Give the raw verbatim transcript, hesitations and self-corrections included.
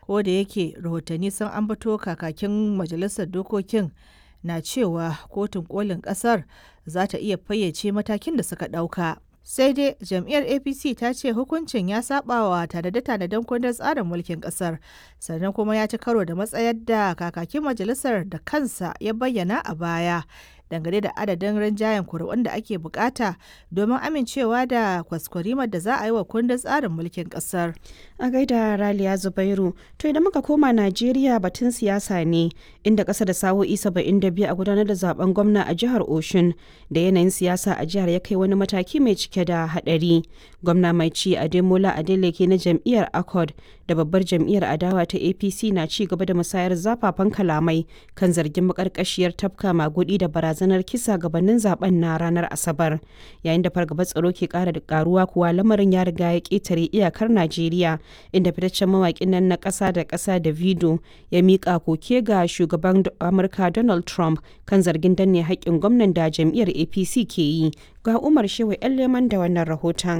Ko da yake rahotanni sun ambato kakakin majalisar dokokin na cewa kotun kolin kasar za ta iya fayyace matakin da suka ɗauka. Sai dai jam'iyyar A P C ta ce hukuncin ya sabawa tanade-tanaden kundin tsarin mulkin kasar, sannan kuma ya ci karo da matsayar da kakakin majalisar da kansa ya bayyana a baya dangane da adadin rinjayen kuri'un da ake bukata domin amincewa da kwaskwarimar da za a yi wa kundin tsarin mulkin kasar. A gaida Raliya Zubairu, to idan muka koma Najeriya, batun siyasa ne, inda ƙasa da sa'o'i saba'in da biyu a gudanar da zaben gwamna a jihar Oshun da yanayin siyasa a jihar ya kai wani mataki mai cike da haɗari. Gwamna mai ci Ademola Adeleke na jam'iyyar Accord da babbar jam'iyyar adawa ta A P C na ci gaba da musayar zafafan kalamai kan zargin makarkashiyar tafka magudi da barazanar kisa gabanin zaben na ranar Asabar. Yayin da fargabar tsaro ke kara da karuwa kuwa, lamarin ya riga ya ketare iyakar Najeriya, inda fitaccen mawakin nan na ƙasa da ƙasa Davido ya miƙa koke ga shugaban Amurka Donald Trump kan zargin danne haƙƙin gwamnan da jam'iyyar A P C ke yi. Ga Umar Shehu 'Yan Leman da wannan rahoton.